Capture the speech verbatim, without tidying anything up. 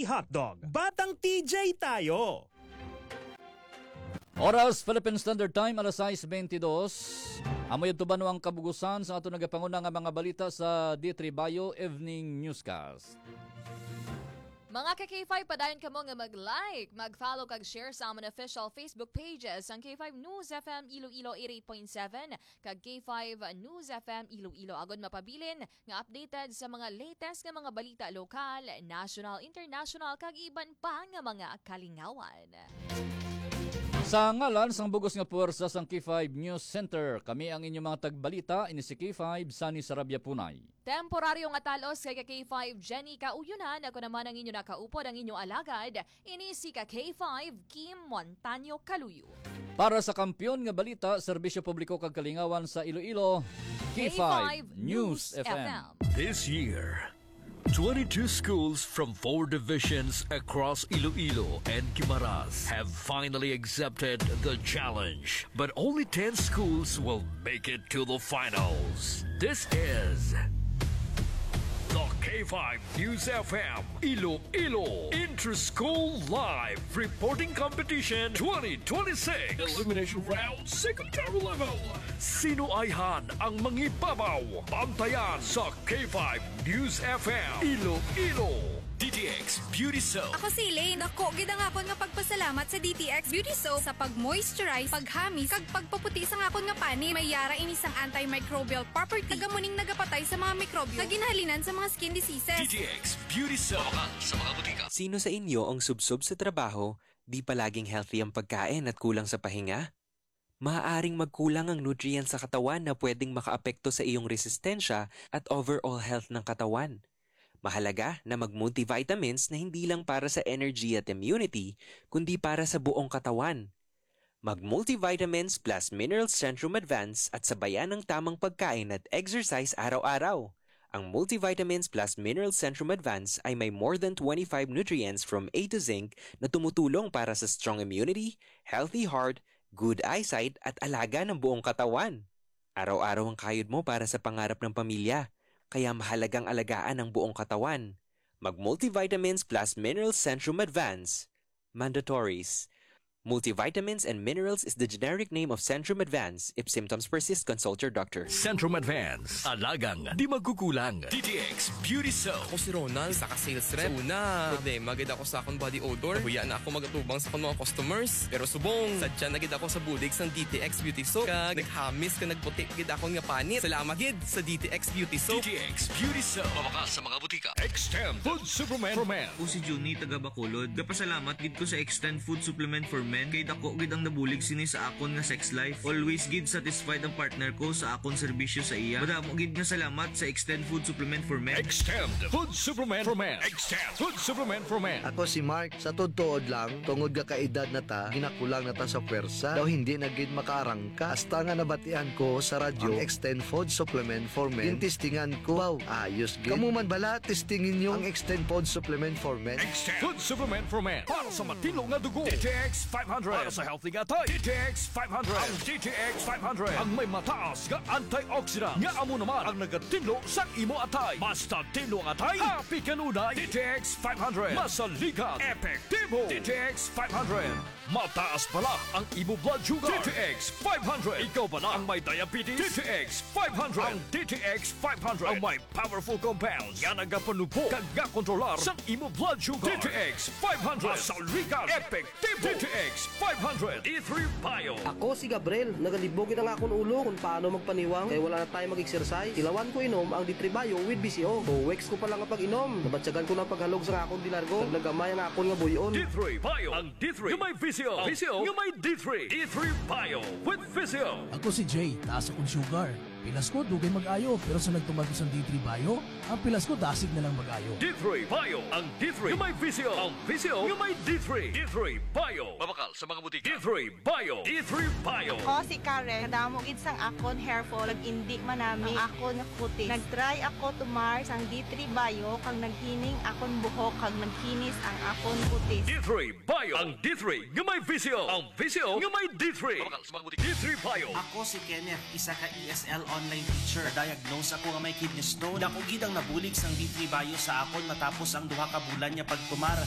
Hotdog. Batang T J tayo! Oras, Philippine Standard Time, alas sais bentidós. Amo yadto ba no ang kabugusan sa ato nagapanguna nga mga balita sa D three Bio Evening Newscast. Mga ka K five, padayon kamo nga mag-like, mag-follow kag share sa amon official Facebook pages, ang K five News F M Iloilo eighty-eight point seven kag K five News F M Iloilo, agod mapabilin nga updated sa mga latest nga mga balita lokal, national, international, kag iban pa nga mga kalingawan. Sa ngalan sang bugos nga puwersa sang K five News Center, kami ang inyong mga tagbalita, ini si K five, Sunny Sarabia Punay. Temporaryo nga talos kay ka K five Jenny Kauyunan, ako naman ang inyo nakaupod, ang inyo alagad, ini si ka K five Kim Montaño Kaluyo. Para sa kampiyon nga balita, serbisyo publiko kag kalingawan sa Iloilo, K five News F M. This year, twenty-two schools from four divisions across Iloilo and Guimaras have finally accepted the challenge, but only ten schools will make it to the finals. This is the K five News F M Iloilo Inter-School Live Reporting Competition twenty twenty-six. Elimination Round, Secretary Level. Sino ayhan ang mangibabaw? Bantayan sa K five News F M Iloilo. D T X Beauty Soap. Ako si Elaine. Dako gid ang akon nga pagpasalamat sa D T X Beauty Soap sa pag-moisturize, paghamis, kag pagpaputi sang akon nga panit. May yara ini sang antimicrobial property, kag amo ning nagapatay sa mga mikrobyo nga ginhalinan sa mga skin diseases. D T X Beauty Soap. Mabakal sa mga butika. Sino sa inyo ang subsob sa trabaho, di palaging healthy ang pagkain at kulang sa pahinga? Maaaring magkulang ang nutrients sa katawan na pwedeng makaapekto sa iyong resistensya at overall health ng katawan. Mahalaga na mag-multivitamins na hindi lang para sa energy at immunity, kundi para sa buong katawan. Mag-multivitamins plus minerals Centrum Advance at sabayan ng tamang pagkain at exercise araw-araw. Ang multivitamins plus minerals Centrum Advance ay may more than twenty-five nutrients from A to zinc na tumutulong para sa strong immunity, healthy heart, good eyesight, at alaga ng buong katawan. Araw-araw ang kayod mo para sa pangarap ng pamilya, kaya mahalagang alagaan ang buong katawan. Mag-multivitamins plus minerals Centrum Advance. Mandatories. Multivitamins and minerals is the generic name of Centrum Advance. If symptoms persist, consult your doctor. Centrum Advance. Alagang di magkukulang. D T X Beauty Soap. Ako si Ronald, isa ka sales rep. Sa una, problema gid ako sa akong body odor. Nahuya na ako mag-atubang sa akong mga customers. Pero subong, sadya na gid ako sa bulig sang D T X Beauty Soap. Kag naghamis kag nagputi gid akon nga panit. Salamat gid sa D T X Beauty Soap. D T X Beauty Soap. Mabakal sa mga butika. Extend Food Supplement for Men. Ako si Junie, taga Bacolod. Gapasalamat gid ko sa Extend Food Supplement for Men kay dako gid ang nabulig sini sa akon nga sex life. Always gid satisfied ang partner ko sa akon serbisyo sa iya. Madamo gid nga salamat sa Extend Food Supplement for Men. Extend Food Supplement for Men. Extend Food Supplement for Men. Ako si Mark. Sa tuod-tuod lang, tungod nga kaedad na ta, ginakulang na ta sa pwersa. Daw hindi na gid makaarangka. Hasta nga nabatian ko sa radyo ang Extend Food Supplement for Men, gintistingan ko. Wow, ayos gid. Kamo man bala, testingi ninyo ang Extend Food Supplement for Men. Extend Food Supplement for Men. Para sa matinlo nga dugo, D T X five hundred. Para sa healthy nga atay, D T X five hundred. Ang D T X five hundred ang may mataas nga antioxidant, nga amo naman ang nagatinlo sa imo atay. Basta tinlo ang atay, happy kanunay. D T X five hundred. Masaligan, epektibo. D T X five hundred. Mataas bala ang imo blood sugar, D T X five hundred. Ikaw bala ang may diabetes, D T X five hundred. Ang D T X five hundred ang may powerful compounds nga nagapanugbo kag gakontrolar sang imo blood sugar. D T X five hundred. Masaligan, epektibo. D T X five hundred. D three Bio. Ako si Gabriel. Nagalibog gid ang akon ulo kung paano magpaniwang kay wala na tayo mag-exercise. Ilawan ko inom ang D three Bio with V C O. Two weeks ko pa lang ang pag-inom, nabatyagan ko na ang paghalog sa akon di largo. Naglagamay ang akon nga buy-on. D three Bio. Ang D three nga may V C O. Ang V C O nga may D three. D three Bio with V C O. Ako si Jay, taas akong sugar. Pilas ko, dugay mag-ayo, pero sa nagtuman ko sang D three Bio, ang pilas ko dasig na lang mag-ayo. D three Bio, ang D three nga may V C O, ang V C O nga may D three. D three Bio. Mabakal sa mga butika. D three Bio. D three Bio. Ako si Karen. Kadamo gid sang akon hair fall, nag-indi manami ang akon nga kutis. Nag-try ako tumar sang D three Bio, kag naghining akon buhok, kag naghinis ang akon kutis. D three Bio. Ang D three nga may V C O. Ang V C O nga may D three. Mabakal sa mga butika. D three Bio. Ako si Kenneth, isa ka E S L Online teacher, na-diagnose ako nga may kidney stone. Dako gid ang nabulig sang D three Bio sa akon matapos ang duha ka bulan nga pagtumar.